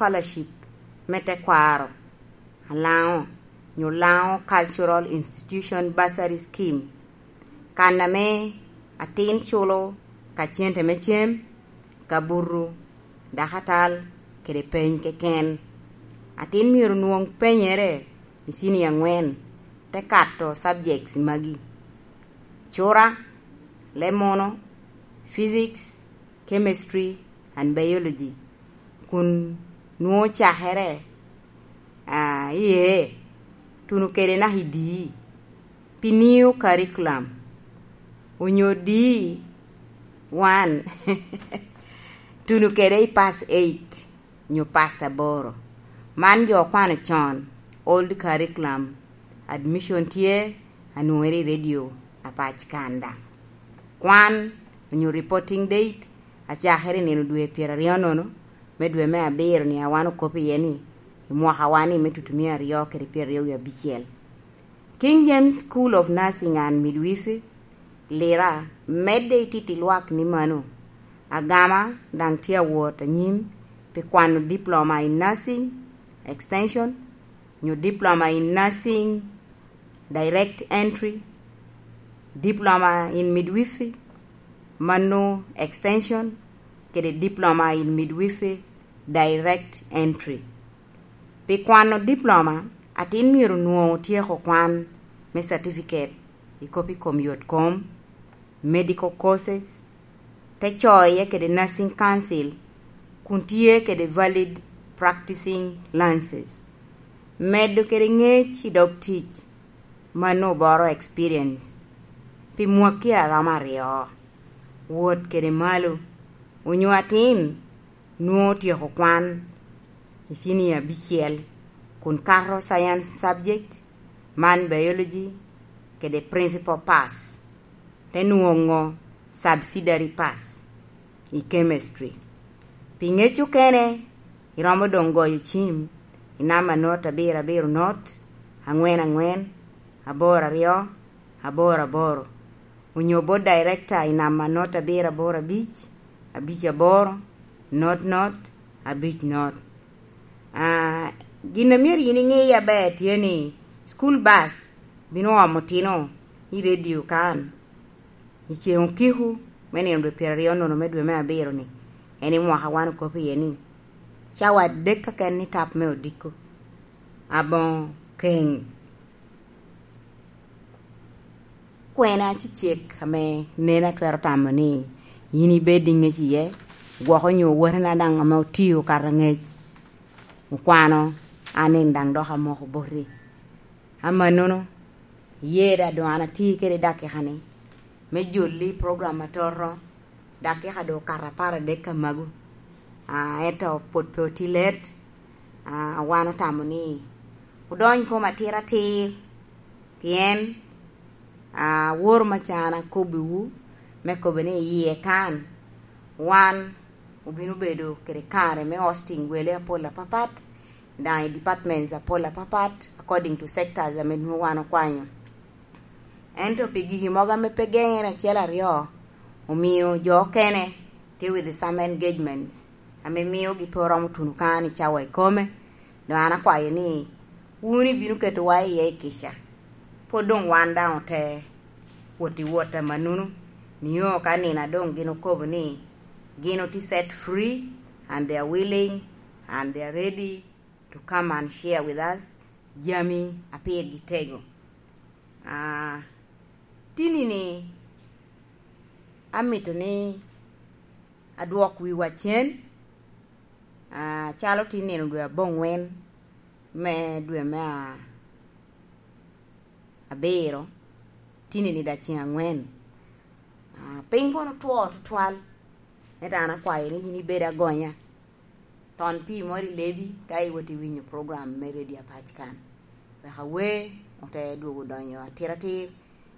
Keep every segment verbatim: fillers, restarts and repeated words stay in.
Scholarship me tekwaro a Lango nyo Lango Cultural Institution Bursary Scheme, kan ame atin culo ka cente me cem, ka butu, dakatal, kede peny keken. Atin myero nwoŋ penyere i cinia angwen, te kato subjects magi: cura, leb munu, physics, chemistry, and biology, kun nwoŋo cakere, ah, iye, tuno kede naka i D E, pi new curriculum, onyo D E one, tuno kede i pass eight, nyo pass aboro. Man jo okwano con, old curriculum, admission tye, anwoŋere i radio apac kan daŋ. Kwan, onyo reporting date, acakere i nino dwe pyeraryo nono me dwe me abiro ni a wan okop iye ni, i mwaka wa ni me tutumia aryo kede pyeraryo wie abicel. King James School of Nursing and Midwifery, Lira, medde i titi lwak ni mano. Agama daŋ tye awot anyim pi kwano diploma in nursing extension, nyo diploma in nursing direct entry, diploma in midwifery, mano extension, kede diploma in midwifery direct entry. Pi kwano diploma, atin myero nwoŋo otyeko kwan me certificate i kop i kom yot kom, medical courses, te coye kede Nursing Council, kun tye kede valid practicing licenses, medo kede ŋec i dog tic, mano oboro experience pi mwaki a romo aryo, wot kede malo, onyo atin nwoŋo otyeko kwan i cinia abicel, kun kato science subject, man biology, kede principal pass, te nwoŋo subsidiary pass i chemistry. Pi ŋec okene, iromo doŋ goyo cim i namba not abiro abiro not, aŋwen aŋwen, aboro aryo, aboro aboro, onyo bot director i namba not abiro aboro abic, abic aboro, not not, abic not. Ah, gin a myero yin iŋe aber tye ni, school bus bino omo otino i radio kan i ceŋ okiko me nino dwe pyeraryo nono me dwe me abiro ni, en i mwaka wan okop iye ni, cawa adek keken ni tap me odiko, aboŋo keŋ. Kwena cecek ame nen atwero tamo ni yin ibed i ŋec iye, gwok onyo owotena daŋ ame otio kato ŋec, okwano, an en daŋ dok amoko boti. Amannono, iye da doŋ an ati kede dakika-ni me jolli program atoto, dakika doŋ okato apar adek ka magu. Ah, ento pwod pe oti let. Ah, wan otamo ni odony kom atir atir, pien, ah, aworo macan akobbiwu me kobo ni i yie kan wan obino bedo kede kare me hosting wele apol apapat, daŋ i departments apol apapat, according to sectors ame nwoŋo wan okwanyo. Ento pi gigi mogo ame pe geŋere acel aryo, omio jo okene tye with some engagements ame miogi pe oromo tuno kan i cawa ikome. Doŋ an akwayo ni wun ibino ketowa iye i kica. Pwod doŋ wan daŋ ote wot i wot amannono, nio ka nino a doŋ gin okobo ni gin oti set free and they are willing and they are ready to come and share with us jami a pirgi tego. Ah, tinini amito ni adwok wiwa cen, ah, calo tin nino dwe aboŋwen me dwe me a-, abiro, tinini daŋ ceŋ angwen. Ah, piny kono two tutwal, ento an akwayo ni yin ibed agonya. Ton pii moro i lebi ka iwot i winyo program me Radio Apac kan. Wek awer ote dwogo donyo atiratir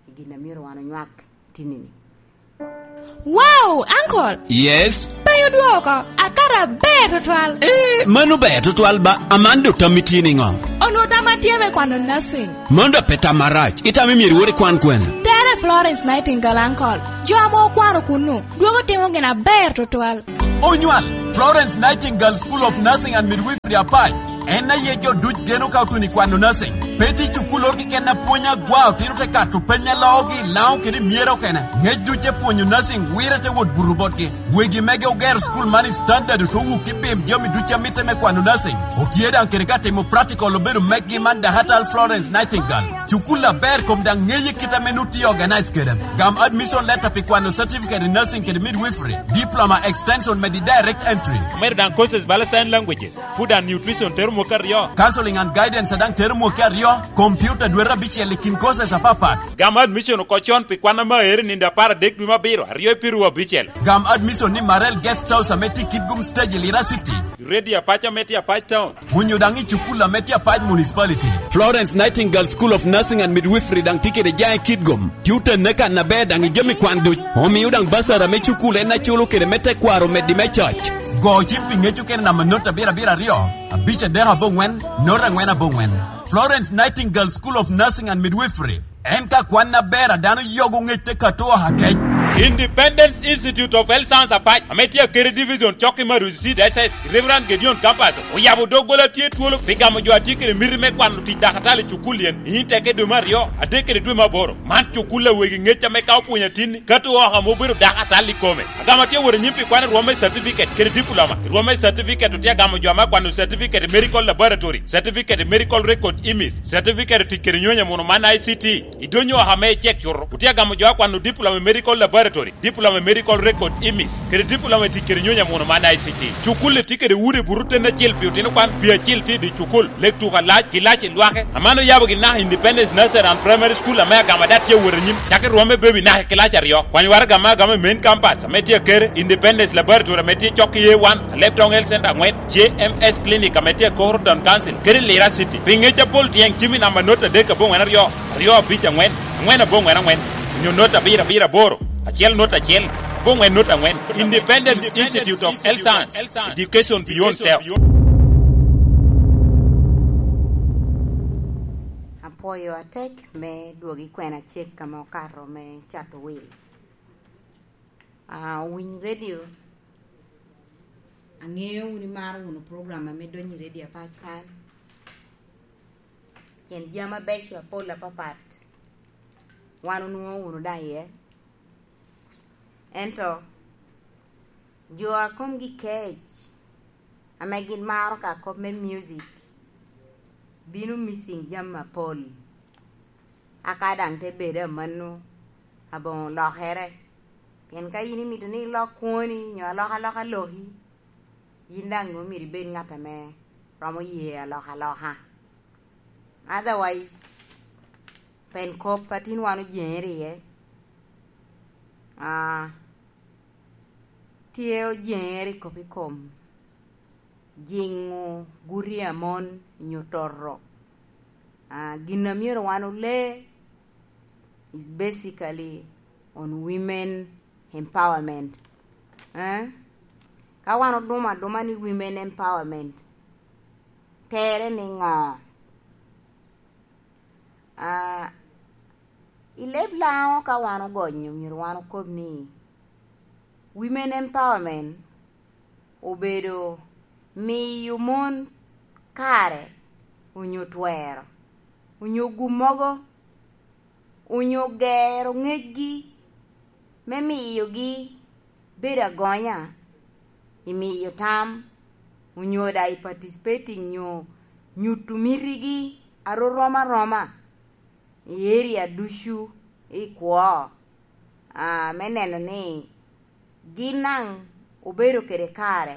i gin a myero wan onywak tinini. Wow, uncle! Yes? Pe odwoko, akato aber tutwal. Eh, mano ber tutwal ba, Amando tammi tye niŋo? Onwo tam atye me kwano nursing. Mano da pe tam marac, itamo myero iwot ikwan kwene? Tere Florence Nightingale, uncle. Jo ame okwano kunnu, dwogo timo gin aber tutwal. Onywal! Florence Nightingale School of Nursing and Midwifery Apac en aye jo duc geno ka otuno i kwano nursing. Pe tye cukulloro keken a pwonyo agwa, otino te kato peny a loogi i Laŋo kede i Myero okene. Ngec duc te pwonyo nursing wire te wot buto botgi. Wegi mege ogero cukul man i standard, ote wuk i pim jami duc a mitte me kwano nursing. Otye daŋ kede ka timo practical obedo meggi man Dahatal Florence Nightingale. Cukul aber kom daŋ ŋeye kit ame nut tye organize kede. Gam admission letter pi kwano certificate in nursing kede midwifery, diploma extension me di direct entry. Omedo daŋ courses bala sign languages, food and nutrition tero mwaka aryo. Counseling and guidance daŋ tero mwaka aryo, computer dwete abicel i kin courses apapat. Gam admission oko con pi kwan ame aere nindo apar adek dwe me abiro, aryo i piru abicel. Gam admission ni Marel Guest House ame tye i Kitgum Stage i Lira City. Ready Apac ame tye Apac Town. Onyo daŋ i cukul ame tye Apac Municipality. Florence Nightingale School of Nursing and Midwifery daŋ tye kede jaŋ i Kitgum. Tye otenne kan aber daŋ i jami kwan duc. Omio daŋ basara me cukul en aculo kede me tekwaro meddi me coc. Go cim pi ŋec okene namba not abiro abiro aryo, abic adek aboŋwen, not angwen aboŋwen. Florence Nightingale School of Nursing and Midwifery. En ka kwan aber a dano yogo ŋec te kato oha kec. Independence Institute of Health Science Apac, ame tye akeri division cok i Marusi City S S, Reverend Gideon Campus, oyabo doggola tye twolo pi gamo jo a tye kede miti me kwano tic dakatal i cukul yen, i teke dwe me aryo, adek kede dwe me aboro. Man cukul a wegi ŋec ame ka opwonyo atinni, kato oha ame obedo dakatal i kome. Agamo atye wot anyim pi kwano rwom me certificate kede diploma. I rwom me certificate otye agamo jo ame akwano certificate i medical laboratory, certificate i medical record imis, certificate tic kede nyonya muno man I C T. I dony oha me icek cuto, otye agamo jo akwano diploma i medical laboratory, diploma i medical record imis, kede diploma i tic kede nyonya muno man I C T. Cukul-li tye kede udi buto ten acel pi otino kwan, pi acil tye i dye cukul, lek tuko alac, ki lac i lwake. Aman oyabo gin naka Independence Nursery and Primary School ame agamo ada tye awot anyim, cako i rwom me baby naka i kilac aryo. Kwany waraga ame agamo i main campus ame tye akere, Independence Laboratory ame tye cok i A one, Alebtong Health Center angwen, J M S Clinic ame tye akoro Town Council, kede Lira City. Pi ŋec apol tyeng cim i namba not adek aboŋwen aryo, aryo abic angwen, angwen aboŋwen angwen, onyo not abiro abiro aboro, acel not acel, aboŋwen not angwen. Independence Institute of Health Science, Education Beyond Self. Apwoyo atek me dwogo i kwena cek ame okato me cato wil. Ah, owiny redio, aŋeo wun imaro wunu program ame donyo i redio apac kan. Pien jami abeco apol apapat wan onwoŋo wunu daŋ iye. Ento jo a komgi kec ame gin maro ka kop me music bino missing jami apol. Aka daŋ te bedo amanno, aboŋo lokere. Pien ka in imito ni ilok kwoni nyo alokaloka loki, yin daŋ nwoŋo myero ibed ŋat ame romo ye alokaloka. Otherwise, pen kop a tin wan ojeŋere iye. Ah, tye ojeŋere i kop i kom jiŋo guti a mon nyo toto. Ah, gin a myero wan ole is basically on women empowerment. Eh? Ka wan odumo aduma ni women empowerment, tere ni ŋo? Ah, i leb Laŋo ka wan ogonyo, myero wan okob ni women empowerment obedo miyo mon kare onyo twero, onyo gum mogo, onyo gero ŋecgi me miyogi bedo agonya i miyo tam, onyo daŋ i participating nyo nyuto mitigi a rom aroma i area ducu i kwo, ah, me neno ni gin daŋ obedo kede kare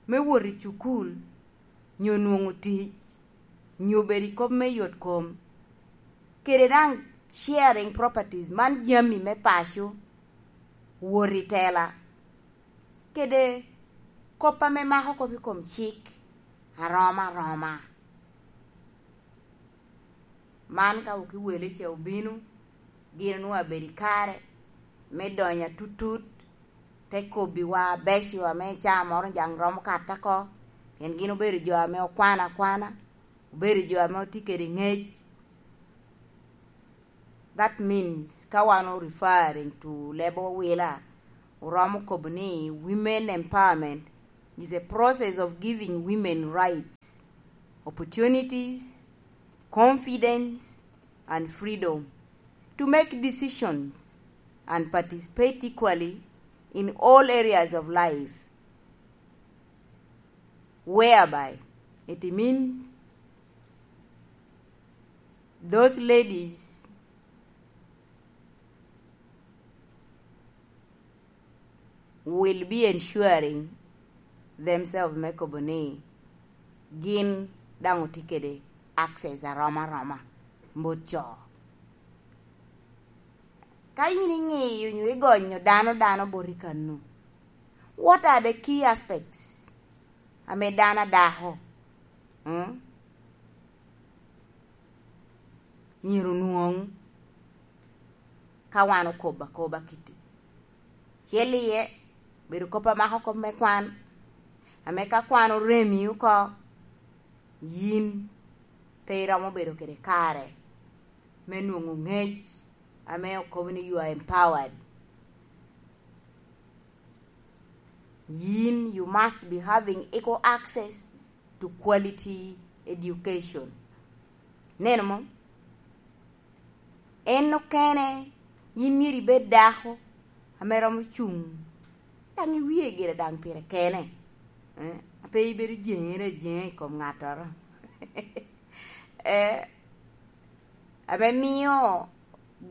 me wot i cukul, nyo nwoŋo tic, nyo bedo i kop me yot kom, kede daŋ sharing properties, man jami me paco, wot i tela, kede kop ame mako kop i kom cik aroma aroma. Man ka okiwele ca obino, gin onwoŋo abedo i kare me donyo atutut, te kobbiwa abeco ame ca moro jaŋ romo kato oko, pien gin obedo jo ame okwano akwana, obedo jo ame otye kede ŋec. That means, ka wan o referring to leb owila, oromo kobo ni women empowerment is a process of giving women rights, opportunities, confidence, and freedom to make decisions and participate equally in all areas of life, whereby it means those ladies will be ensuring themselves, me kobo ni gin daŋ otye kede access arom aroma bot co. Ka in iŋiyo nyo igonyo dano dano boti kanu, what are the key aspects ame dano adako, mm, myero onwoŋ ka wan okobo akoba kiti? Acel iye, bedo kop a mako kop me kwan, ame ka kwan oremi oko, yin pe iromo bedo kede kare me nwoŋo ŋec ame okobo ni you are empowered. Yin, you must be having equal access to quality education. Neno mo? En okene, yin myero ibed dako ame romo cuŋ, daŋ iwie gire daŋ pire kene, eh, a pe ibedo jeŋere ajeŋa i kom ŋattoro. Eh, ame mio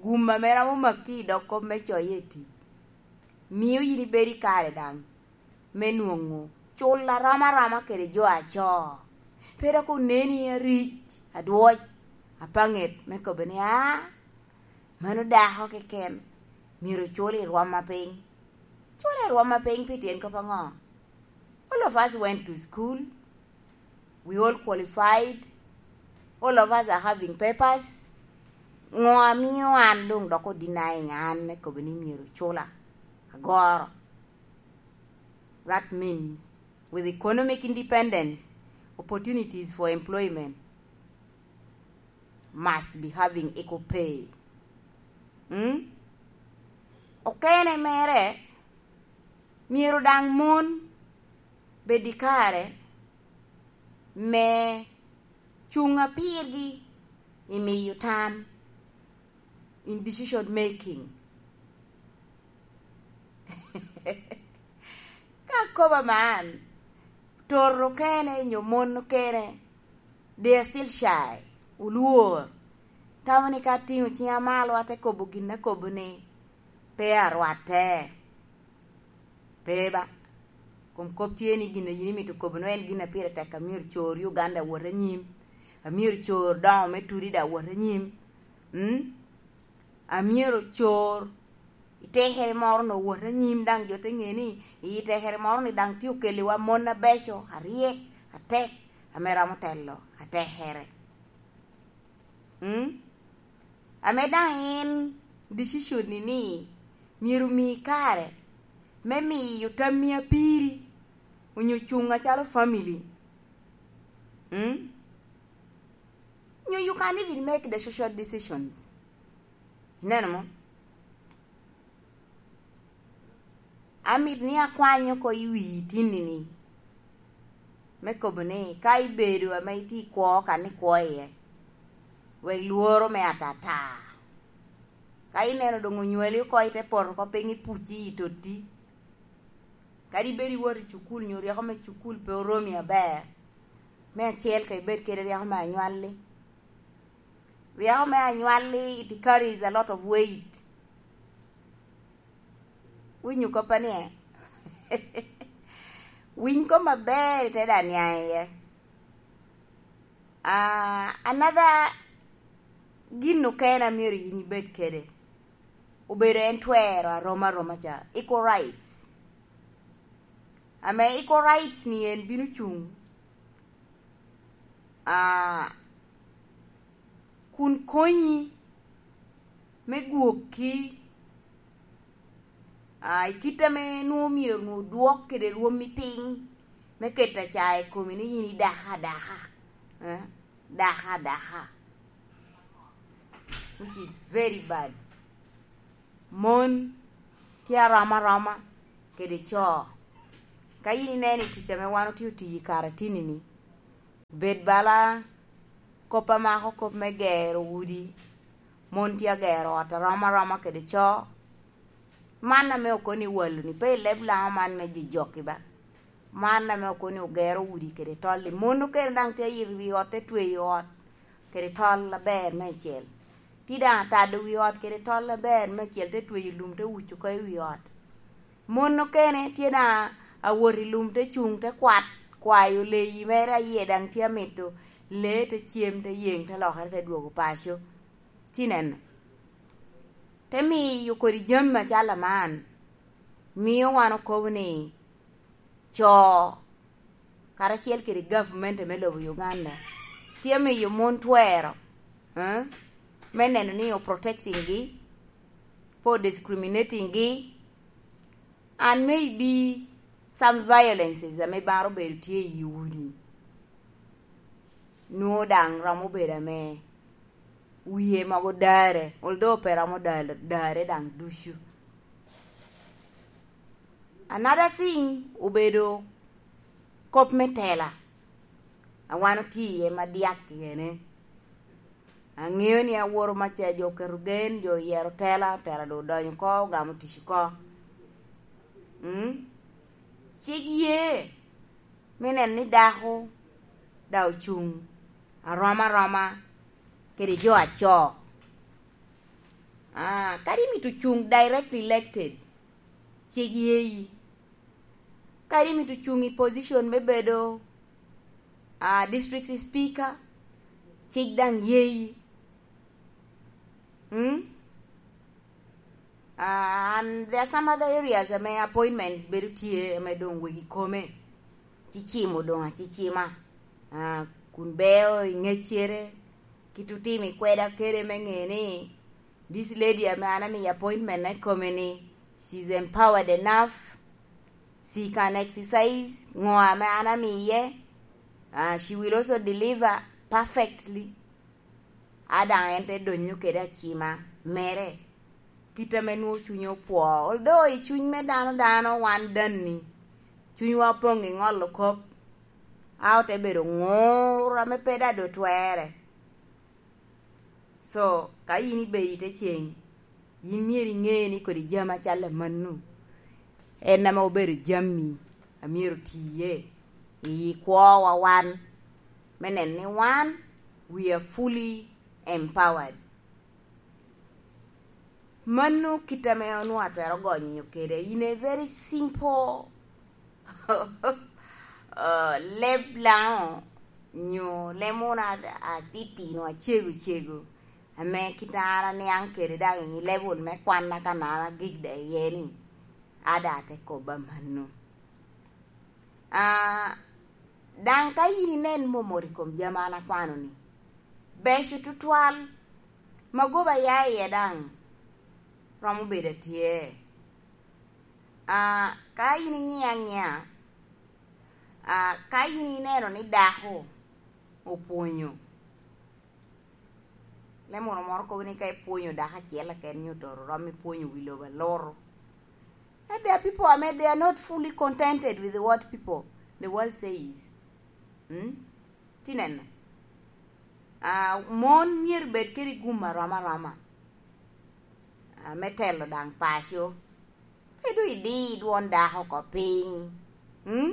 gum ame romo maki i dog kop me coye i tic, mio yin ibedo i kare daŋ me nwoŋo cul arom aroma kede jo aco. Pe dok oneni aric, adwoc, apaŋet me kobo ni, "Aa, mano dako keken, myero ocul i rwom apiny." Cul i rwom apiny pi tyen kop aŋo? All of us went to school, we all qualified, all of us are having papers. Ŋo amio an doŋ dok odenying an me kobo ni myero ocula? Agoro. That means, with economic independence, opportunities for employment must be having equal pay. Mm? Okene mere, myero daŋ mon bed i kare me cuŋ apirgi i miyo tam, in decision making. Ka akoba man, toto okene nyo mon okene, they are still shy, olwor. Tamo ni ka atiŋo ciŋa malo, ate kobo gin akobo ni pe arwatte. Pe ba. Kom kop tye ni gin a yin imito kobo no en gin a pire tek, amyero cor Uganda wot anyim. Amyero cor doŋo me Turida wot anyim. Mm? Amyero cor i tekere moro no wot anyim, daŋ jo te ŋe ni i tekere moro ni daŋ tye okeliwa mon abeco, aryek, atek, ame romo telo atekere. Mm? Ame daŋ en decision ni, ni myero omi kare me miyo tammi apiri onyo cuŋ acalo family. Mm? Nyo you can't even make the social decisions. Ineno mo? Amit ni akwany oko i wi itinni-ni, me kobo ni ka ibedo ame itye i kwo kan ikwo iye, wek lworo me atata. Ka ineno doŋ onywali oko, ite poto oko piny, ipucci i totti. Kadi ibedo iwot i cukul, nyo ryeko me cukul pe oromi aber, me acel ka ibed kede ryeko me anywalli. Ryeko me anywalli, it carries a lot of weight. Winyo koppa ni, eh? Winy kop maber, ite daniang iye. Ah, another gin okene a myero yin ibed kede, obedo en twero aroma aroma ca, equal rights. Ame equal rights ni en bino cuŋ, ah, kun konyi me gwokki, ah, i kit ame nwoŋo myero nwoŋo dwok kede rwommi piny, me keto aca i komi ni yin idako adaka, eh, dako adaka, which is very bad. Mon tye aroma aroma kede co. Ka yin ineno i tic ame wan otye otiyo i karatini-ni, bed bala kop a mako kop me gero udi, mon tye agero ot arom aroma kede co. Man ame okoni walo-ni, pe i leb Laŋo man me jojok-ki ba. Man ame okoni ogero udi kede tol-li. Mon okene daŋ tye ayito wi ot, te tweyo ot kede tol aber meicel. Tye daŋ atado wi ot kede tol aber meicel, te tweyo lum, te wuco oko i wi ot. Mon okene tye daŋ awot i lum, te cuŋ, te kwat, kwayo leyi mere a yie daŋ tye amito, lee te cem, te yeŋ, te lokere, te dwogo paco. Ci neno, te miyo kodi jami acalo man, mio wan okobo ni co karacel kede gavumenti me lobo Uganda tye miyo mon twero, eh, me neno ni o protecting gi, pe o discriminating gi, and maybe some violences ame baro bedo tye i udi, nwoŋo daŋ romo bedo ame wie mogo dare, although pe romo dare, dare daŋ ducu. Another thing obedo kop me tela a wan otye iye ma dyak iyene. Aŋeo ni aworo maca jo oketo gen, jo oyero tela, tela doŋ odonyo oko, ogamo tic oko. Mm? Cik ye me neno ni dako daŋ ocuŋ arom aroma kede jo aco. Ah, kadi mito cuŋ directly elected, cik yeyi. Kadi mito cuŋ i position me bedo, ah, district speaker, cik daŋ yeyi. Mm? Ah, and there are some other areas ame appointments bedo tye ame doŋ wegi kome. Cicimo doŋ acicima. Ah, kun beo i ŋeccere, kit otimo i kweda kede me ŋe ni, this lady ame an amiyo appointment i kome ni, she's empowered enough, she can exercise ŋo ame an amiye. Ah, she will also deliver perfectly. A daŋ en te donyo kede acima mere, kit ame nwoŋo cunye opwo. Although i cuny me dano dano wan danni, cunywa opoŋ i ŋolo kop, a ote bedo ŋur ame pe daŋ doŋ twere. So, ka yin ibedo i te ceng, yin myero iŋe ni kodi jami acalo amanno en ame obedo jami a myero oti iye i kwowa wan, me neno ni wan, we are fully empowered. Mano kit ame onwoŋo atwero gonyo kede in a very simple uh, leb Laŋo nyo leb munu atitino acego cego, ame kit an aniaŋ kede daŋ i level me kwanna ka an agik da iye ni, ada ate kobo amanno. Ah, daŋ ka yin inen momot i kom jami an akwano-ni, beco tutwal, magoba ya iye daŋ romo bedo atye. Ah, ka yin iŋiyo aŋiya, ah, ka yin ineno ni dako opwonyo, leb munu moro kobo ni ka ipwonyo dako acel keken nyo toro rom ipwonyo wi lobo aloro. And there are people ame they are not fully contented with what people, the world says. Mm? Ti neno. Ah, mon myero bed kede gum arom aroma. Ah, me telo daŋ paco. Pe doŋ idi dwon dako oko piny. Hmm?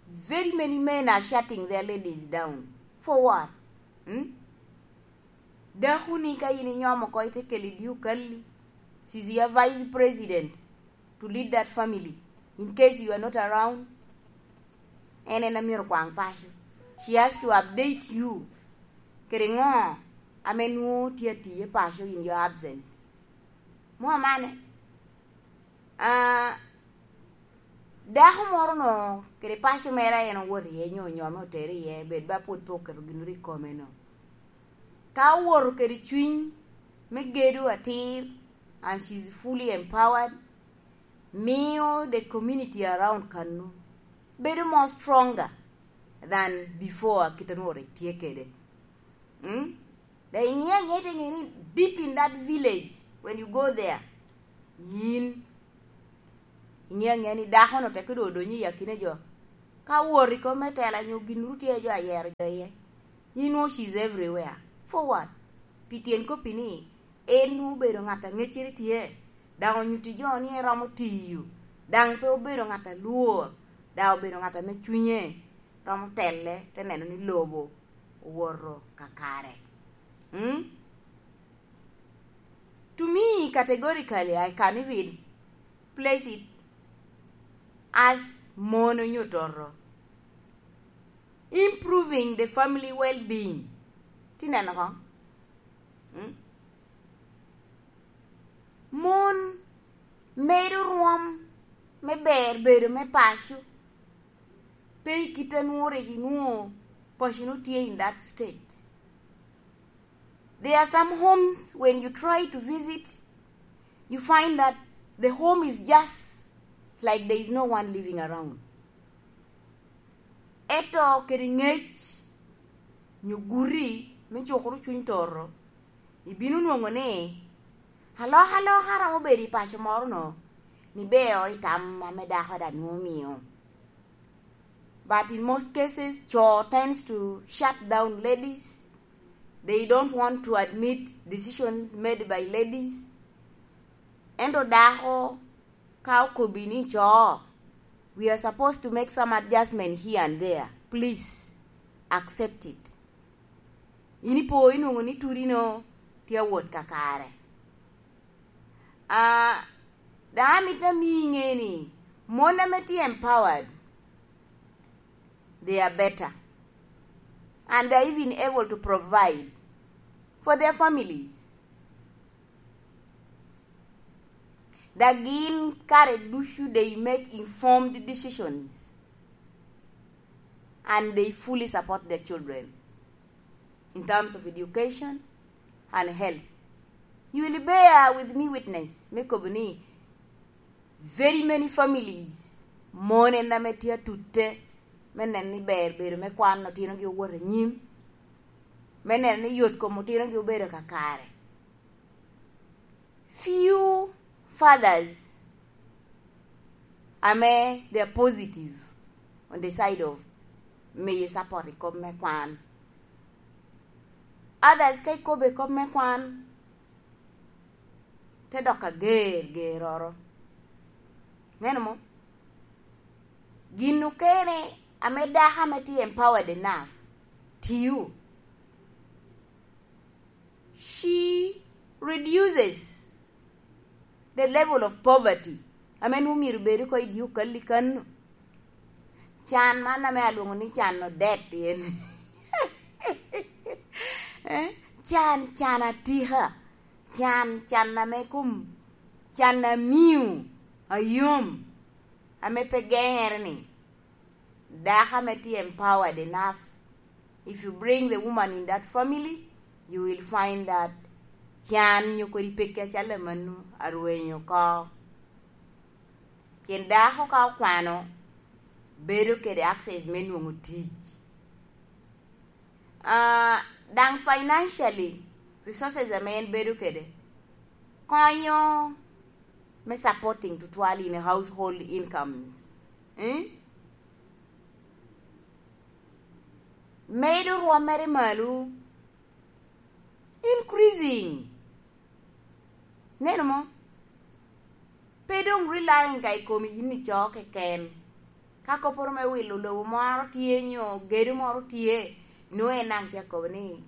Very many men are shutting their ladies down. For what? Hmm? Dako ni ka in inyomo oko ite kelo i dye okalli. She's your vice president to lead that family in case you are not around. En en amyero kwaŋ paco. She has to update you. Kede ŋo ame nwoŋo tye atiye paco in your absence. Mo amane? Ah, dako moro no kede paco mere a en owoto iye nyo onyo ame otere iye, bed ba pwod pe oketo gin ri kome no. Ka owoto kede cwiny me gedo atir, and she's fully empowered, mio the community around kanu bedo more stronger than before kit anwoŋo rik tye kede. Mm? Dai ŋe aŋe te ŋe ni deep in that village, when you go there, yin Iŋeo aŋea ni dako-nu teke doŋ odonyo i akina jo. Ka wot i kom me tela nyo gin ru tye jo ayero jo iye. Inwo she's everywhere. For what? Pi tyen koppi ni, en nwo obedo ŋat a ŋeccere tye, daŋ onyutti jo ni eromo tiyo, daŋ pe obedo ŋat a lwor, daŋ obedo ŋat ame cunye romo telle, te neno ni lobo owoto kakare. Mm? To me, categorically, I can even place it as mon onyo toto. Improving the family well-being. Ti neno koŋ? Mm? Mon medo rwom me ber bedo me paco. Pe i kit a nwoŋo rik inwoŋo paco nwoŋo tye in that state. There are some homes when you try to visit, you find that the home is just like there is no one living around. Ento kede ŋec nyo guti me cukoro cuny toto, ibino nwoŋo ni alokaloka romo bedo i paco moro-nu, ni beo i tam ame dako daŋ nwoŋo mio. But in most cases, co tends to shut down ladies. They don't want to admit decisions made by ladies. Ento dako ka okobbi ni, "Co, we are supposed to make some adjustment here and there. Please accept it." In ipo inwoŋo ni turino tye awot kakare. Ah, daŋ amito ami iŋe ni mon ame tye empowered, they are better. And they are even able to provide for their families. Daŋ gin kare ducu they make informed decisions and they fully support their children in terms of education and health. You will bear with me witness me kobo ni very many families, mon en ame tye atute me neno ni ber bedo me kwan otinogi owot anyim, me neno ni yot kom otinogi obedo kakare. Few fathers ame they are positive on the side of miyo support i kop me kwan. Others ka ikobo i kop me kwan, te dok ager geroro. Neno mo? Gin okene ame dako ame tye empowered enough tiyo, she reduces the level of poverty ame nwoŋo myero bed oko i dye okal i kan-nu. Can man ame alwoŋo ni can odet en. Eh, can, can atika. Can, can ame kom, can amiu, ayom, ame pe geŋere ni. Dako ame tye empowered enough, if you bring the woman in that family, you will find that can nyo kodi pekki acalo amanno arwenyo oko. Pien dako ka okwano, bedo kede access me nwoŋo tic. Ah, daŋ financially, resources ame en bedo kede, konyo me supporting tutwal in household incomes. Eh? Medo rwommere malo, increasing. Neno mo? Pe doŋ relying ka i komi yin ico keken. Ka kopporo me wilo lobo moro tye nyo gedo moro tye, nwoŋo en daŋ tye akobo ni,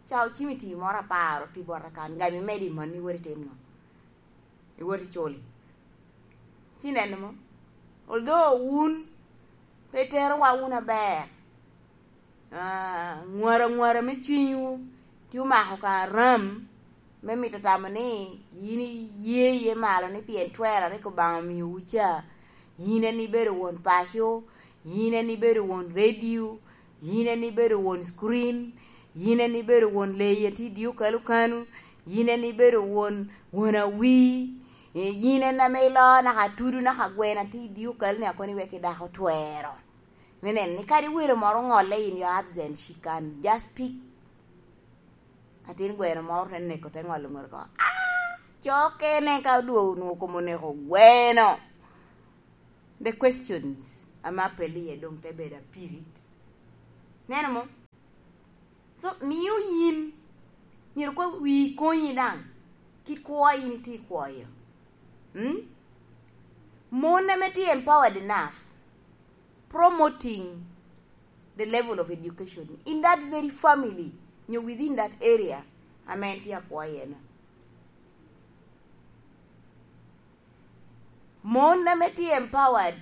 "Ca ocimiti moro apar oti bota kan, gam imed i mano iwot itim no, iwot iculi." Ci neno mo? Although wun pe iterowa wun aber, ah, ŋwara ŋwara me cwinywu tye omako ka ram me mito tamo ni yin iye iye malo ni pien twero a rik Obaŋa omiowu ca, yin en ibedo won paco, yin en ibedo won redio, yin en ibedo won screen, yin en ibedo won leyi a tye i dye okalo kanu, yin en ibedo won, won awii, eh, yin en ame iloo naka atudu naka gweno a tye i dye okalo ni a kono iwek i dako twero me neno ni kadi welo moro oŋolle in your absence, she can just pick. Atin gweno moro te neko, te ŋolo ŋote oko. Ah! Co kene ka odwogo onwoŋo kom oneko gweno. The questions ame apelli iye doŋ te bedo apirit. Neno mo? So, mio yin myero koŋ wii konyi daŋ kit kwo a yin itye ikwoyo. Mm? Mon ame tye empowered enough, promoting the level of education in that very family, nyo within that area ame en tye akwo iye-nu. Mon ame tye empowered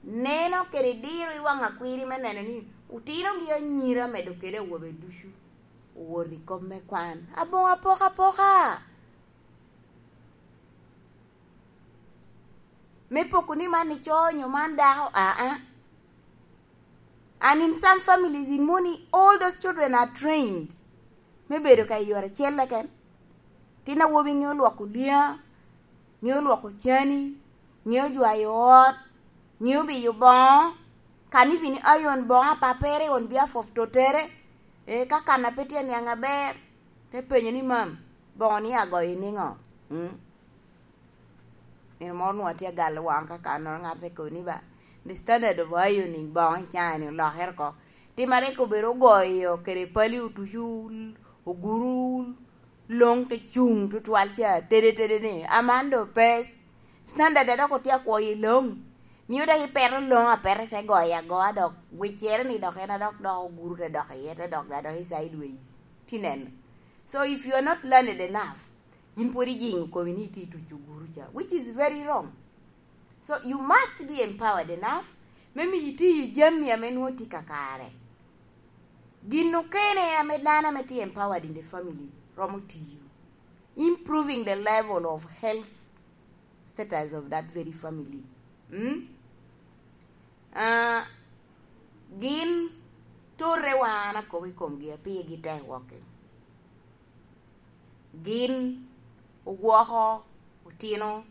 neno kede diro i waŋ akwiri me neno ni otinogi anyira medo kede awobe ducu owot i kop me kwan. Aboŋo apokapoka. Me poko ni man ico nyo man dako, aa. And in some families, in moni, all those children are trained me bedo ka i yore acel keken. Tin awobi ŋeo lwoko lya, ŋeo lwoko cani, ŋeo jwayo ot, ŋeo biyo boŋo, can even iron boŋo a papere on behalf of totere. E, ka kan a pe tye aniaŋ aber, te penyo ni, "Mam, boŋo ni agoyo niŋo?" Mm. Nino moro nwoŋo atye agalo waŋ ka kannoro, ŋat te kobo ni, "Ba, the standard of ironing boŋo i caa-ni olokere oko." Tim a rik obedo ogoyo kede pali otucu, oguru, loŋ te cuŋ tutwal ca, tede tede ni, aman do pe standard a dok otye akwoyo i loŋ. Mio dok ipeto loŋ apeta te goyo agoa dok wiccere ni dok en a dok dok oguru te dok iye, te dok da dok i sideways. Ti neno. So if you are not learned enough, yin pwod ijiŋo komi ni itye ituco oguru ca, which is very wrong. So you must be empowered enough me miyo itiyo jami ame nwoŋo tye kakare. Gin okene ame dano ame tye empowered in the family romo tiyo, improving the level of health status of that very family. Mm? Ah, gin torre wan akobo i komgi, apigi tek woko. Gin ogwoko otino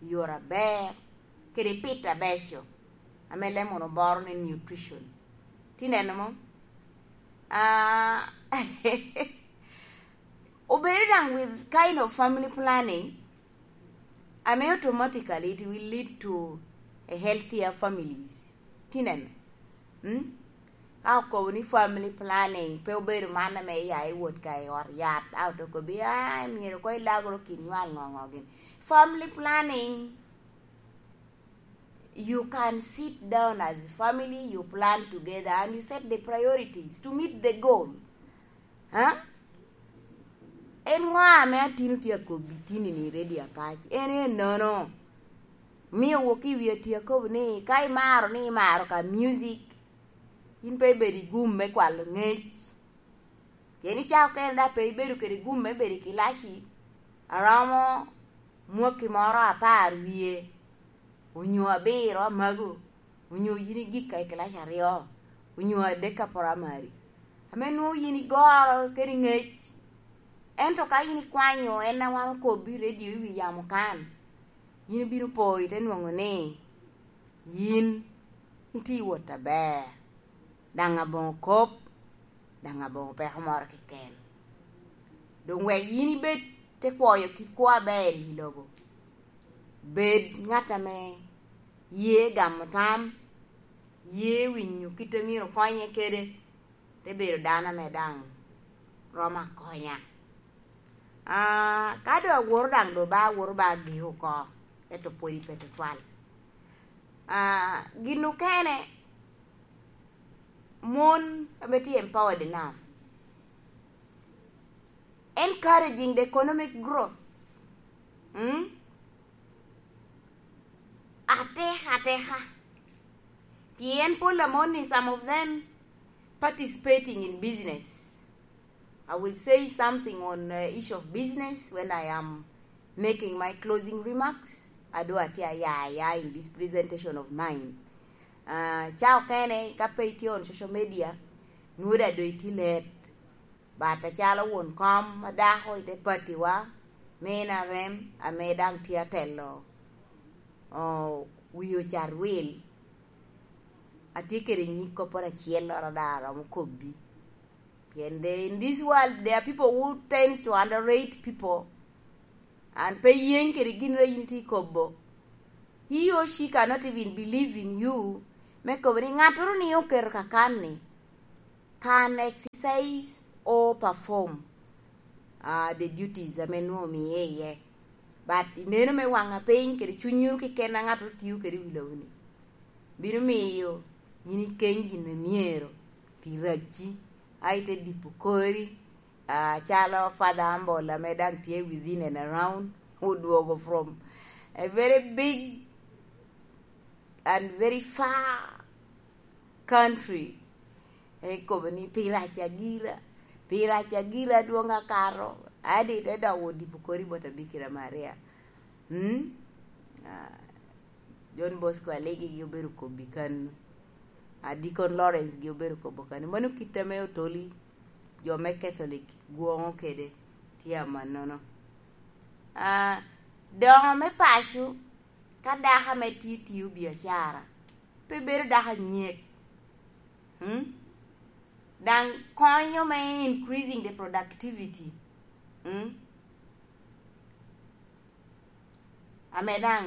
i yore aber kede pit abeco, ame lemon oboro ni nutrition. Ti neno mo? Ah, obedo daŋ with kind of family planning, ame automatically it will lead to a healthier families. Ti neno? Mm? Ka okobo ni family planning pe obedo man ame iya iwot ka i ot yat, a oto kobi, "Ah, myero koŋ ilagro kin nywal ŋo ŋo gin." Family planning, you can sit down as a family, you plan together and you set the priorities to meet the goal. Ha? En ŋo ame atino tye akobbi tini ni ready apac? En ennono. Mio wok i wi ati akobo ni, ka imaro ni imaro ka music, in pe ibedo i gum me kwalo ŋec. Pien i caa okene dok pe ibedo kede gum me bedo i kilaci, aromo mwaki moro apar wie, onyo abiro amago, onyo yin igikka i kilaci aryo, onyo adek ka primary, ame nwoŋo yin igoro kede ŋec. Ento ka yin ikwanyo en a wan okobbi i redio i wi yamo kan, yin ibino po ite nwoŋo ni yin itye i wot aber, daŋ aboŋo kop, daŋ aboŋo peko moro keken. Doŋ wek yin ibed te kwoyo kit kwo aber i lobo. Bed ŋat ame ye gamo tam, ye winyo kit a myero okonye kede, te bedo dano ame daŋ romo akonya. Ah, ka doŋ awoto daŋ doŋ ba awoto ba agik oko, ento pwod ipe tutwal. Ah, gin okene, mon ame tye empowered enough, encouraging the economic growth. Mm? Ateka ateka. Pien pol a mon ni, some of them participating in business. I will say something on, uh, issue of business when I am making my closing remarks. I do atye aya aya in this presentation of mine. Uh, ca okene ka pe itye on social media, nwoda do itye let. But acalo won kom a dako i te patiwa, me N R M, ame daŋ tye atelo, oh, wi ocat wil, atye kede nyig kopporo acel loro ada aromo kobbi. Pien de, in this world, there are people who tends to underrate people. And pe yeny kede gin re yin itye ikobo. He or she cannot even believe in you, me kobo ni ŋattoro ni oketo kakan-ni can exercise or perform uh, the duties ame nwoŋo omiye iye. But ineno me waŋa piny kede cunnyuru keken a ŋattoro tio kede i wi lobo-ni, bino miyo yin ikeny gin a myero pi racci, a ite dipo kori, uh, calo Father Humble ame daŋ tye within and around, odwogo from a very big and very far country. Ekobo ni, "Pi rac agira, pi rac agira adwoŋ akato, adi te dok wot dipo kori bot Abikira Maria." Mm? Ah, John Bosco Alegi gi obedo kobbi kan. Ah, Deacon Lawrence gi obedo kobo kan. Mano kit ame otoli jo me Catholic gwoŋo kede tye amannono. Ah, doŋo me paco, ka dako ame tye tio biacara, pe bedo dako anyek. Mm? Daŋ konyo me increasing the productivity. Mm? Ame daŋ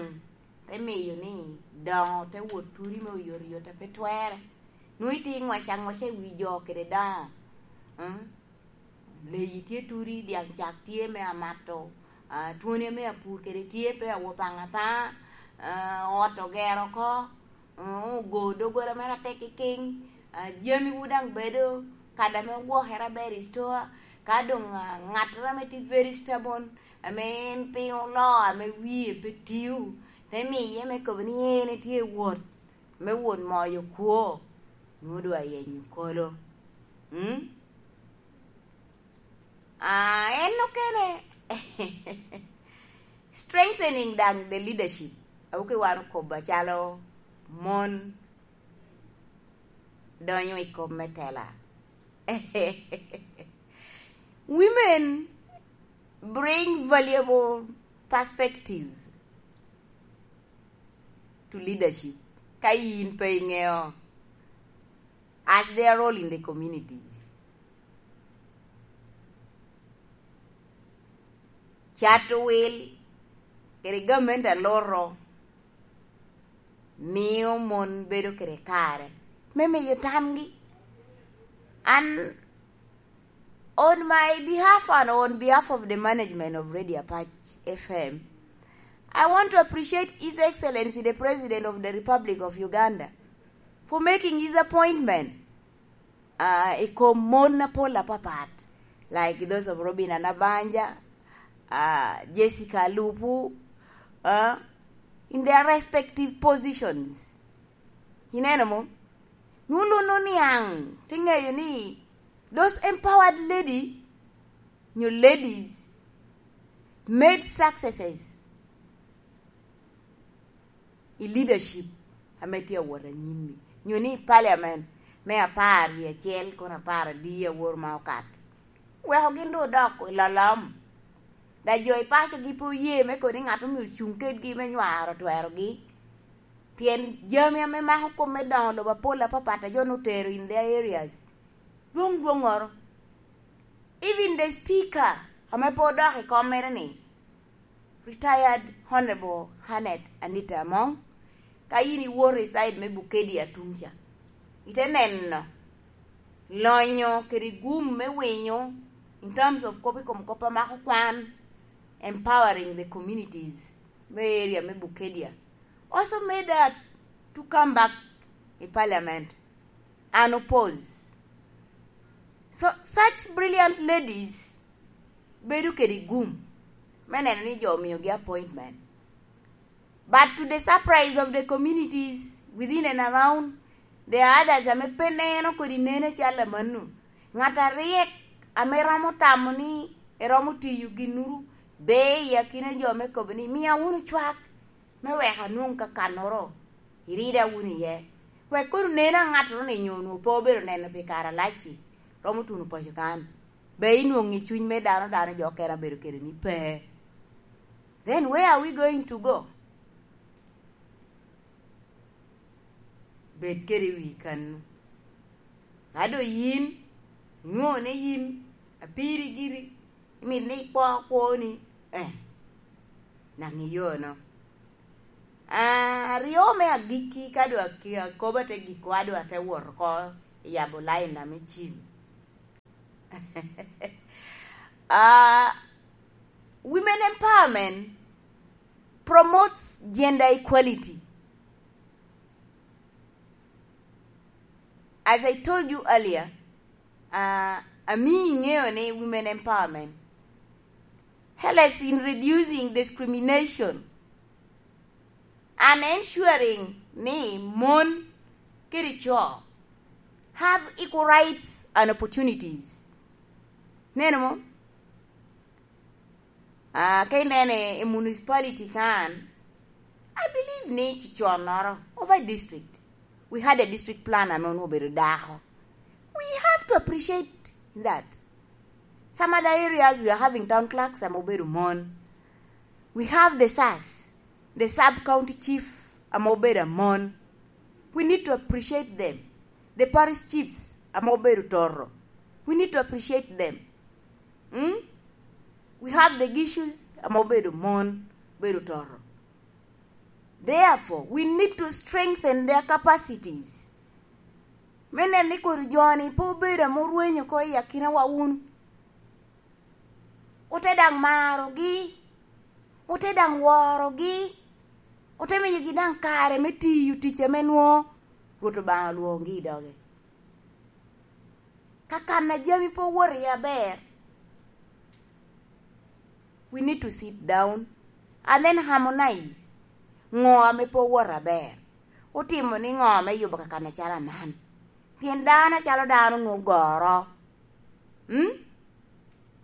te miyo ni doŋo te wot turi me oyotoyot a pe twerre. Nwoŋo itye ŋwac aŋwaca i wi jo kede doŋo. Mm? Leyi tye turi, dyaŋ cak tye me amato, ah, twoni ame apur kede tye pe awo paŋ apaŋa, ah, ot ogero oko, ah, ogo doggola mere atek kikiŋ, ah, jamiwu daŋ bedo, kadi ame ogwokere aber i store, ka doŋ, ah, ŋattoro ame tye very stubborn, ame en piny oloo, ame wie pe tio, te miye me kobo ni en etye i wot, me wot moyo kwo, nwoŋo doŋ ayenyo kolo. Mm? Ah, en okene. Strengthening daŋ the leadership. Awuki wan okobo acalo mon donyo i kop me tela. Women bring valuable perspective to leadership. Ka yin pe iŋeo as their role in the communities. Cato wil kede gamente a loro mio mon bedo kede kare me miyo tamgi. An, on my behalf and on behalf of the management of Radio Apac F M, I want to appreciate His Excellency the President of the Republic of Uganda for making his appointment uh, i kom mon apol apapat, like those of Robina Nabanja, uh, Jessica Alupu, uh, in their respective positions. Ineno mo? Nwoŋo niaŋ te ŋeyo ni those empowered lady nyo ladies made successes i leadership ame tye awot anyim-mi, nyo ni i parliament me apar wie acel kono apar adi awor ma okato, weko gin doŋ odok i lolom. Da jo i pacogi pe oye me koni ŋat omyero cuŋ kedgi me nywaro twerogi, pien jami ame mako kop me doŋo lobo apol apapat a jo nwoŋo otero in their areas dwoŋ dwoŋoro. Even the speaker ame pe odok i kom mere ni, retired Honorable Hanet Anita Among, ka yin iwoto i side me Bukedea tumca, ite neno lonyo kede gum me winyo in terms of kop i kom kop a mako kwan, empowering the communities me area me Bukedea. Also made her to come back i parliament and oppose. So such brilliant ladies bedo kede gum me neno ni jo omiogi appointment. But to the surprise of the communities within and around, there are others ame pe neno kodi neno cal amanno. Ŋat aryek ame romo tamo ni eromo tiyo ginnuru, be i akina jo me kobo ni, "Mia wunu cwak me wek anwoŋ kakannoro, irida wunu iye." Wek kono neno a ŋattoro ni nyo onwoŋo pe obedo neno pi kare alac-ci, romo tuno paco kan. Be inwoŋo i cuny me dano, dano jo okene abedo kede ni pe. Then where are we going to go? Bed kede wi kannu. Ka doŋ yin, inwoŋo ni yin apiri giri, imito ni ikwo kwoni, eh, naŋ iyono. Ah, aryo me agikki ka dwa ki-, akobo ate giko, a dwa te wot oko i yabo lain na me cim. Ah, women empowerment promotes gender equality. As I told you earlier, uh, ami iŋeo ni women empowerment helps in reducing discrimination and ensuring ni mon kede co have equal rights and opportunities. Neno mo? Ah, ka ineno i, i municipality kan, I believe ni ciconnoro, over district, we had a district plan ame onwoŋo obedo dako. We have to appreciate that. Some other areas, we are having town clerks ame obedo mon. We have the sas, the sub county chief ame obedo amon. We need to appreciate them. The parish chiefs ame obedo toto. We need to appreciate them. Mm? We have the issues ame obedo mon, obedo toto. Therefore, we need to strengthen their capacities. Me neno ni kodi jo-ni pe obedo ame orwenyo oko i akinawa wunu. Ote daŋ marogi, ote daŋ worogi, ote miyogi daŋ kare me tiyo tic ame nwoŋo Rwot Obaŋa olwoŋogi i doge. Ka kan a jami pe owoto iye aber, we need to sit down and then harmonize. Ŋo ame pe owoto aber? Otimo niŋo me yubo ka kan acalo aman? Pien dano acalo dano nwoŋo goro. Mm?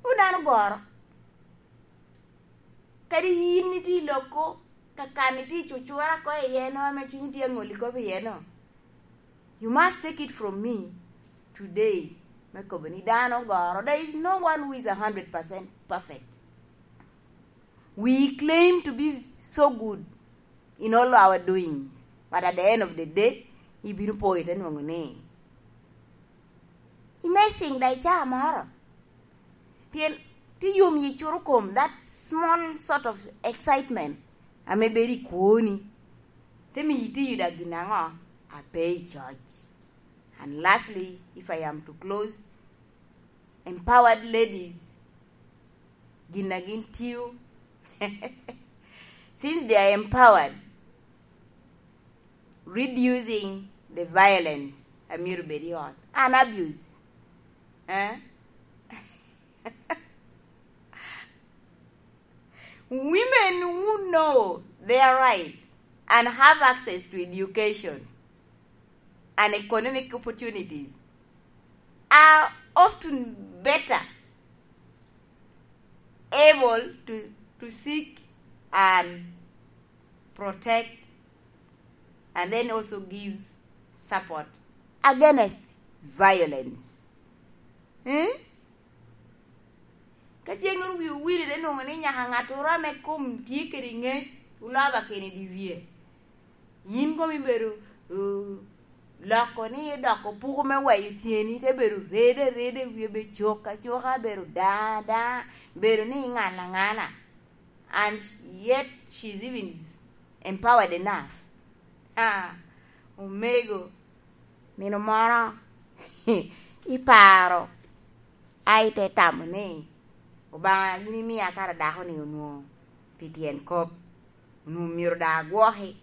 Nwoŋo dano goro. Kadi yin itye i loko, ka kan itye i cucura ko iye no, ame cunyi tye aŋoli kop iye no, you must take it from me today, me kobo ni dano ogoro. There is no one who is a hundred percent perfect. We claim to be so good in all our doings, but at the end of the day, ibino po ite nwoŋo ni imacing da icaa moro. Pien ti yom yi curo kom, that small sort of excitement ame bedo i kwoni, te miyo itiyo da gin aŋo a pe i coc. And lastly, if I am to close, empowered ladies, gin a gin tiyo, since they are empowered, reducing the violence a myero bed i ot and abuse. Eh? Women who know their right and have access to education and economic opportunities are often better able to, to seek and protect and then also give support against violence. Eh? Ka ceng ru wi owilere nwoŋo ni nyaka ŋattoro ame kom tye kede ŋec, olaba kene i dye wie. Yin komi bedo, uh, loko ni idoko puko me weyo tyeni, te bedo rede areda, wie be cok acoka, bedo da da, bedo ni iŋano aŋana. And yet she's even empowered enough. Ah, omego, nino moro, iparo, a ite tamo ni, "Obaŋa, yin imia kara dako-ni onwoŋo pi tyen kop, onwoŋo myero da agwoki,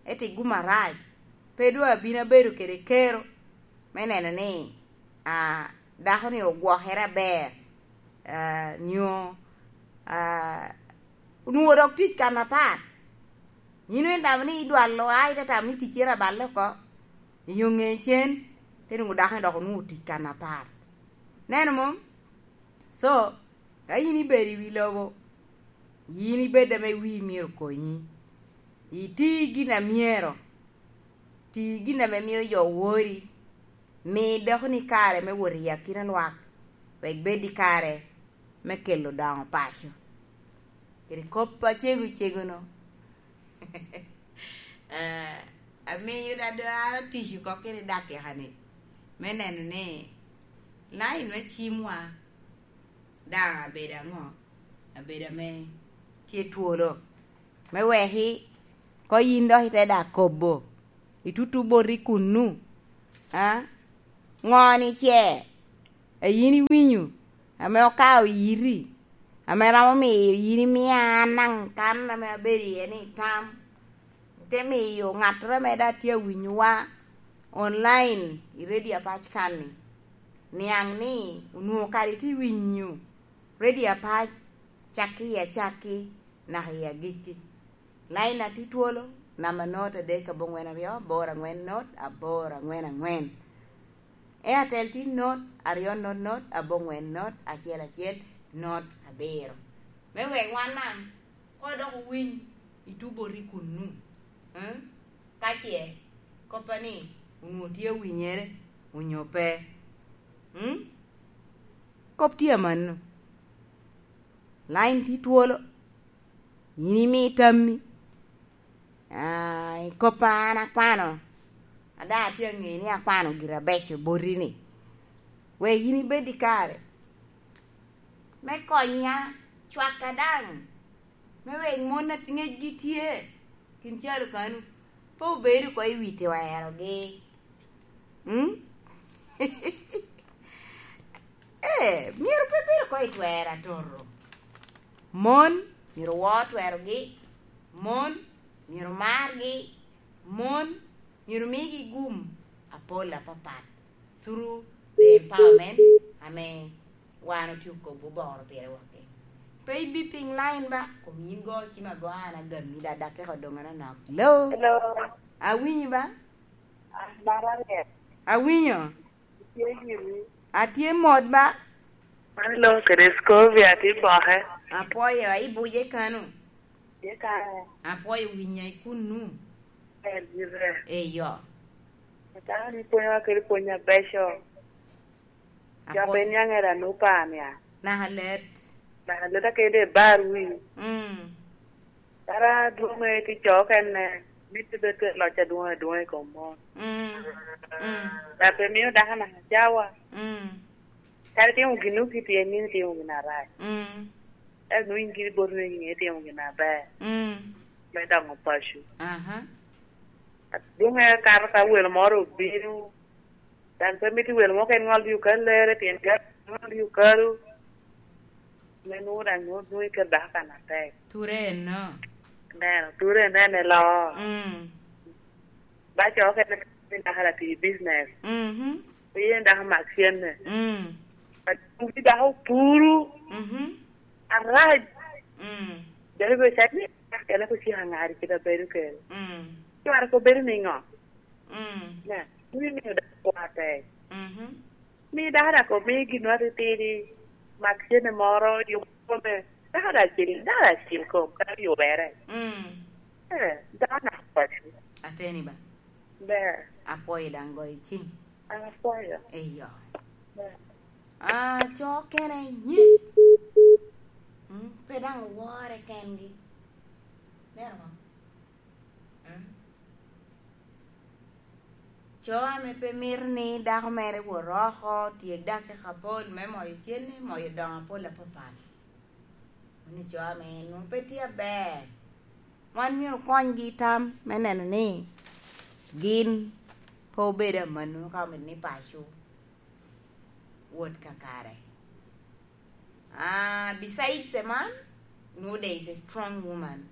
ento iguma arac, pe doŋ abino abedo kede kero me neno ni, ah, dako-ni ogwokere aber, ah, nyo, ah, onwoŋo dok tic kan apat." Yin itamo ni idwalo, a ite tamo ni ticcere aballe oko, inyo ŋe cen, te nwoŋo dako-ni dok onwoŋo tic kan apat. Neno mom? So, ka yin ibedo i wi lobo, yin ibed ame wii myero konyi. Iti gin a myero, ti gin ame mio jo wori, mi dako-ni kare me wot i akina lwak, wek bed i kare me kelo daŋo paco. Kede kop acego cego-nu, eh, amiyo da dano tic oko kede dakika-ni, me neno ni lain me cimwa daŋ abedo aŋo? Abedo ame tye twolo, me weki Ko yin dok ite daŋ kobo, itutu boti kunnu, a? Ŋo-ni ce a yin iwinyo ame okao yiti, ame romo miyo yin imia an daŋ kan ame abedo iye ni tam, ite miyo ŋattoro ame daŋ tye awinyowa online i redio apac kan-ni, niaŋ ni onwoŋo kadi tye winyo redio apac cakki i acakki naka i agikki. Lain atye twolo, namba not adek aboŋwen aryo, aboro aŋwen not, aboro aŋwen aŋwen. Airtel tye not aryo not not, aboŋwen not, acel acel not abiro. Me wek wan daŋ, ko dok owiny i tuboti kunnu, eh? Ka ce koppa ni onwoŋo tye awinyere, onyo pe. Mm? Kop tye amanno. Lain tye twolo. Yin imi tammi. Ah, i koppa an akwano. A daŋ atye aŋeyo ni akwano gire abeco boti-ni. Wek yin ibed i kare me konya, cwaka daŋ, me wek mon a tingecgi tye kin calo kanu, pe obedo oko i wi twerogi. Mm? Ee, myero pe bed oko i twero atoto. Mon myero wor twerogi, mon myero margi, mon myero migi gum apol apapat through the empowerment ame wan otye okobo boro pire waki. Pe ibipiŋ lain ba, kom yin go cim ago an agammi da dakika odoŋ anonok. Hello? Hello. Awinyi ba? An Maria. Awinyo. Itye giri? Atye mot ba. An lo kede Scovia tye boke. Apwoyo, ai buje kano? Tye kare. Apwoyo winya i kunnu. Ber gire. Eyo. Atamo ni pwonyowa kede pwony abeco. Apwoyo. Jabbe niaŋ era nu pa nia. Naka let. Naka let akede bar wi. Mm. Kara adwoŋe tye co okene, mitte bed kede loc adwoŋ adwoŋ i kom mon. Mm, mm. Dok pe mio dako naka cawa. Mm. Kadi timo gin nu ki pien nino itimo gin arac. Mm. Ento nwoŋo in giri boti ni nge itimo gin aber. Mm. Me doŋo paco. Aha. Adwoŋe akato ka welo moro obino, daŋ pe mito welo mo ken ŋol i okallere, pien ka ŋol i okalu, me nwoŋo daŋ nwoŋo, nwoŋo iketo dako kan atek. Ture eno. Neno, ture eno en eloo. Mm. Ba co okene ni dako ara pi business. Mhm. Pe yen dako mak cenne. Mm. Atugi dako puru. Mhm. Arac. Mm. Dok ibedo cak ni dako kene kucika ŋari kite abedo kede. Mm. Cware ko bedo niŋo? Mm. Ne, in imiyo dako kwo atek. Mhm. Mi dako dok omi gin atitidi, mak cene moro, yubo kome. Dako dok acil, dako dok acil kom, ka yubere. Mm. Eh, dako naka paco. Ateni ba. Ber. Apwoyo daŋ goyo cim. An apwoyo. Eyo. Ber. Ah, co kene nye. Mm, pe daŋ wore kengi. Neno mo? Mm. Co ame pe mito ni dako mere wot oko, tyek dakika apol me moyo cene, moyo doŋo apol apapat. Mano co ame nwoŋo pe tye aber. Wan myero okonygi i tam me neno ni gin pe obedo amanno ka omito ni paco wot kakare. Ah, besides a man, nowadays a strong woman.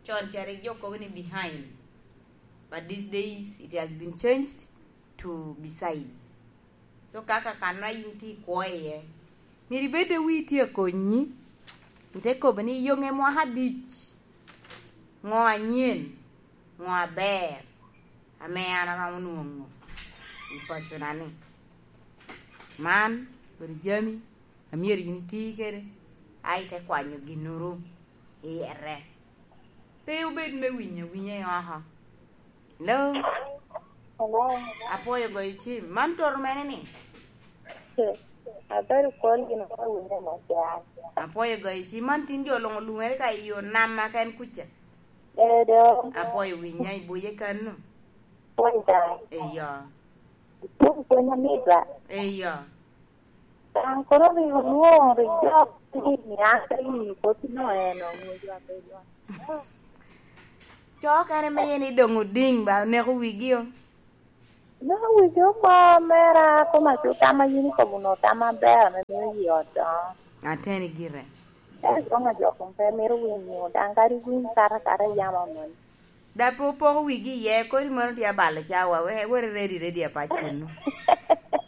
Con cari jo kobo ni behind. But these days, it has been changed to besides. So, kaka kan ma in tye ikwo iye, myero ibed a wii tye akonyi. Ite kobo ni, "Yoŋe mwaka abic. Ŋo anyen? Ŋo aber ame an aromo nwoŋo i pacona-ni?" Man obedo jami a myero yin iti kede, a ite kwanyo ginnoro i ete. Pe wubed me winyo awinya i oko. Hello? Hello? Apwoyo goyo cim. Man toto mene ni? Abedo kwal gin ka winyo macan. Apwoyo goyo cim. Man tin jo luŋ olumere ka i yo nam ma ken kuca. Edo. Apwoyo winya i buye kano. Pwony daŋ. Eyo. Ipwony pwony amit ba? Eyo. Daŋ kono rik olwoŋo rik jo ni niaŋ te winyo kop ino en oŋo jo abedo. Co okene me yen idoŋ odiŋ ba oneko wigi o. Dok wigi oko mera, koma co tam a yin ikobo onwoŋo tam aber ame mio yi ot doŋo. Ateni gire. Ento dwoŋ a jo kom pe mito winyo, daŋ kadi winy kato akata yam amon. Da pe opoko wigi iye, kodi mono tye abalo cawa, we, weri ready, ready apac kunnu.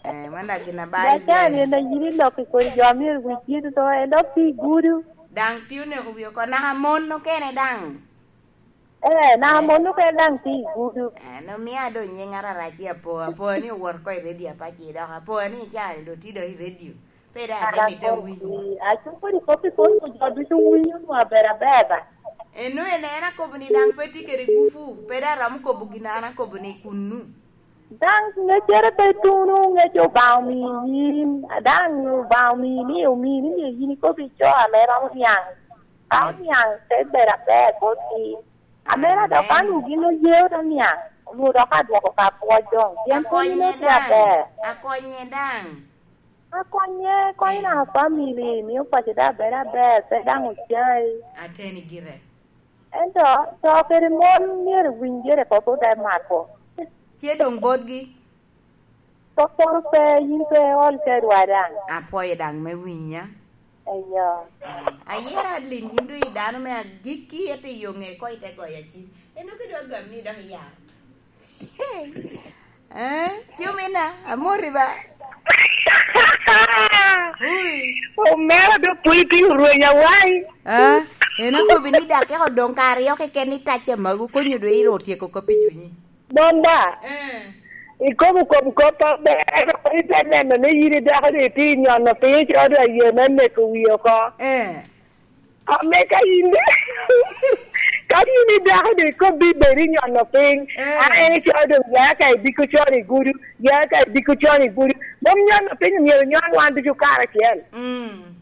Eh, man da gin abalo iye. Dacan en a yin ilok i kodi jo a myero wigi duto, en dok tye i gudu. Daŋ tye oneko wi oko, naka mon okene daŋ. Eh, naka mon okene daŋ tye i gudu. Eh, no mia do nying ararac i apo, apo ni owot ko i ready apac i dok, apo ni ican do tye do i radio. Pe da ate mite wi. Aco kodi kop i kom jo ducu winyo nu aber aber ba. Eno en, en akobo ni daŋ pe tye kede gupu, pe da romo kobo gin an akobo ni kunnu. Daŋ ŋeccere pe tuno, ŋec Obaŋa omii yin, a daŋ Obaŋa omii ni, omii ni myero yin ikob i co ame romo niaŋ. Ka oniaŋ, te bedo aber botgi. Amera dok ka onwoŋo gin oye ote niaŋ, onwoŋo dok adwoko ka pwoc doŋ. Pien pwony onwoŋo tye aber. Akonye daŋ. Akonye, konyo naka family, mio paco daŋ bedo aber, pe daŋ ocai. Ateni gire. Ento to kede mon myero winjere kop ote mako. Tye doŋ botgi. Kop moro pe, yin pe iol kedwa daŋ. Apwoyo daŋ me winya. Eyo. Ayera Adeline, yin doŋ i dano me agikki, ete i yo ŋe ko ite goya cim. En dok idwa gam ni dok iyar. Eh, ci omina, amori ba. Ui. Omera do pwony pi orweny awai. Ah, en okobi ni dakika odoŋ ka aryo keken ni tacce magu konyo dwe iro otyeko kop i cunyi. Bomba. Eh. Ikobo kom kop aber, ite neno ni yin idako ni itye nyono piny, icodo aye me neko wi oko. Eh. Ame ka yin, ka yin idako ni ikobbi bed inyono piny, eh, a en icodo ya ka idiko con i gudu, ya ka idiko con i gudu. Mom nyono piny myero nyon wan ducu karacel. Mm.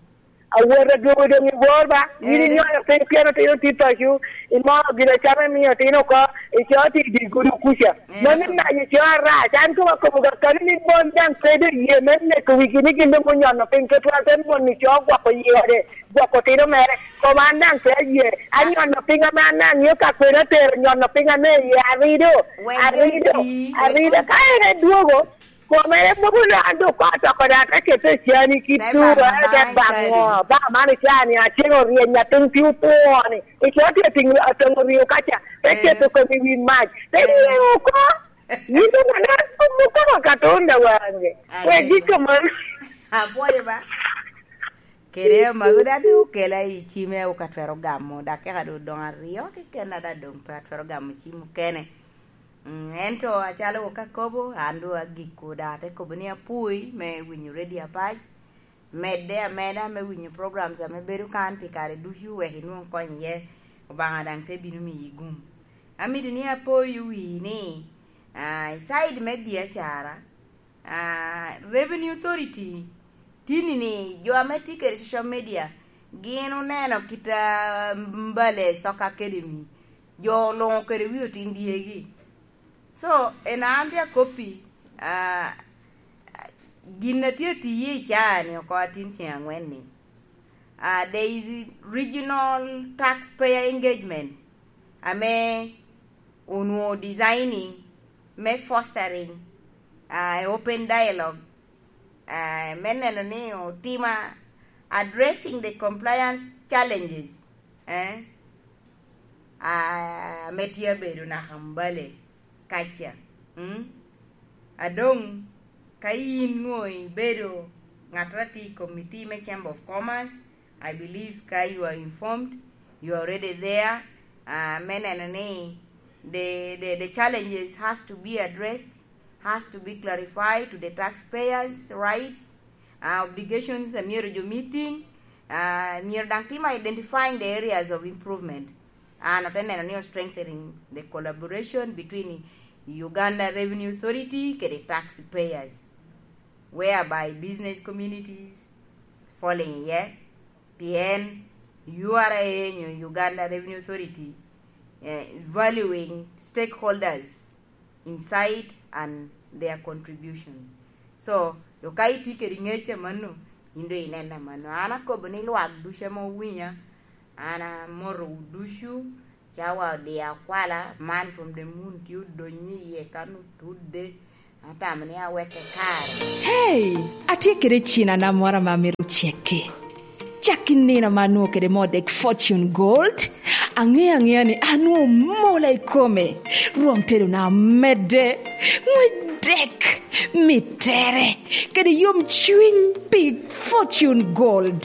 Awot adwogo doŋ i bor ba, yin inyono piny pien otino tye paco, imoro gin acama imio otino oko, ico tye i dye gudo kuca. Mano nayo co arac, an koma kobo ga kano ni mon daŋ pe doŋ ye me neko wigi ni gin doŋ onyono piny, tutwal te mon ni co gwoko yi ode, gwoko otino mere, koma an daŋ pe aye, anyono piny ame an daŋ ŋeo ka kwena otero nyono piny ame iye arido, arido, arido, ka en edwogo, Kome en mogo lo an doŋ ko atoko da, te kete i cani ki turo, te baŋo, baŋo man i cani, acel oryeny, atin tye opwoo-ni, i co tye atin, atin oryo kaca, te keto kome i wi mac, te ryeo oko. Yin doŋ anan, mukama Katonda wange, wek gik kamano. Apwoyo ba. Kede mago da doŋ okela i cime, ok atwero gamo, dakika doŋ, doŋ aryo keken ada doŋ pe atwero gamo cim okene. Mm, ento acalo wok akobo, an doŋ agiko da, ate kobo ni apwoi me winyo Radio Apac, medde ameda me winyo programs ame bedo kan pi kare ducu, wek inwoŋ kony iye, Obaŋa daŋ te bino miyi gum. Amito ni apoyo wi ni, ah, i side me biacara, ah, Revenue Authority, tini ni jo ame tye kede social media, gin oneno kit a Mbale Soccer Academy, jo oluŋo kede wi otin dyegi. So, en an tye akoppi, ah, gin a tye atiye i caa-ni oko atin ceŋ aŋwen-ni, ah, there is regional taxpayer engagement, ame onwoŋo designing me fostering, ah, open dialogue, ah, me neno ni otima addressing the compliance challenges, eh, ah, ame tye abedo naka Mbale kaca. Mm? Adoŋ, ka yin nwoŋo ibedo ŋat a tye i committee me Chamber of Commerce, I believe ka you are informed, you are already there, ah, me neno ni the, the, the challenges has to be addressed, has to be clarified to the taxpayers' rights, ah, obligations, ah, myero jo meeting, ah, myero daŋ tim identifying the areas of improvement. An ote neno ni o strengthening the collaboration between Uganda Revenue Authority kede taxpayers, whereby business communities falling iye, pien U R A nyo Uganda Revenue Authority, eh, valuing stakeholders insight and their contributions. So, do ka itye kede ŋec amanno, in do ineno amanno. An akobo ni lwak ducu ame owinya, an amotowu ducu, Cawa odiyo akwala, man from the moon tye odonyo iye kan otudde. Atamo ni aweke kare. Hey, atye kede cinana moro ame amito cekki. Cak i nino ame anwoŋo kede moo dek Fortune Gold, aŋeo aŋea ni anwoŋo mola i kome. Rwom tedona omedde, ŋwec dek, mittere, kede yom cwiny pi Fortune Gold.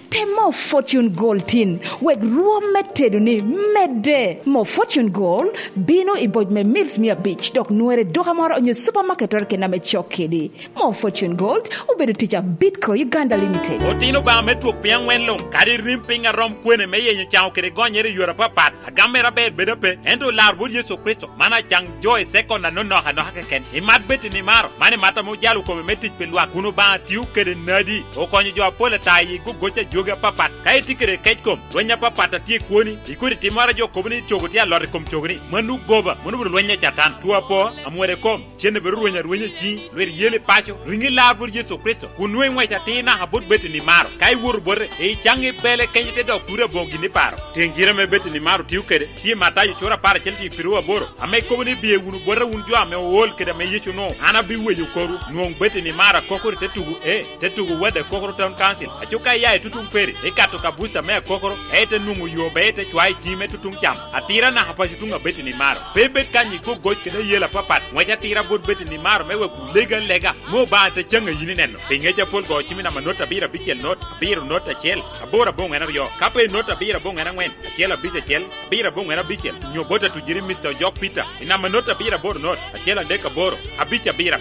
Tem moo Fortune Gold tin, wek rwom me tedoni medde. Moo Fortune Gold bino i boc me mils mia abic, dok nwere i duka moro onyo supamaket oro kena me cok kedi. Moo Fortune Gold obedo tic a Bitco Uganda Limited. Otin Obaŋa me twok piny aŋwen luŋ, kadi rim piny a rom kwene me yenyo caŋo kede gonyere i yore apapat, agam mere aber bedo ape, ento lar bot Yecu Kricito, man acaŋ jo i sekon anonok anoka keken. Imat bed ni maro, man imat ame ojalo kome me tic pi lwak, kun Obaŋa tio kede nadi, okonyo jo apol ata i gogoc a jogi apapat. Ka itye kede kec kom, lweny apapat a tye i kwoni, ikodi timmoro a jo kobo ni cogo tye alot i kom cogoni, mano goba, mano obedo lweny a Catan. Two apo, amwode kom, cen obedo rweny arwenya i ciŋi, lwit yel i paco, riŋi lar bot Yecu Kricito, kun nwoŋo iŋwec atir naka bot bed ni maro. Ka iwoto bote, icaŋ i bele kenyo te dok turi aboŋo gin iparo. Tiŋ jire ame bed ni maro tio kede, tye i Matayo cura apar acel tiŋ piru aboro, ame kobo ni, "Biye wunu bota wun jo ame ool kede ame Yecu onwoŋo, an abiweyo korwu." Nwoŋ bed ni maro akokoro i te tugo, e, te tugo Wad Akokoro Town Council. Aco ka iya i tutuŋ peri, ikato ka buca me akokoro, ete nwoŋo yo be ite cwayo i ciŋi me tutuŋ cam. Atira naka paco tuŋ abed ni maro. Pe bed kany i gogoc kede ayel apapat. Ŋwec atira bot bed ni maro me wek wulegi alega, me Obaŋa te caŋ a yin ineno. Pi ŋec apol go cim i namba not abiro abicel not, abiro not acel, aboro aboŋwen aryo. Ka pe not abiro aboŋwen aŋwen, acel abic acel, abiro aboŋwen abicel, nyo bot atujiri Mister Ojok Peter, i namba not abiro aboro not, acel adek aboro, abic abiro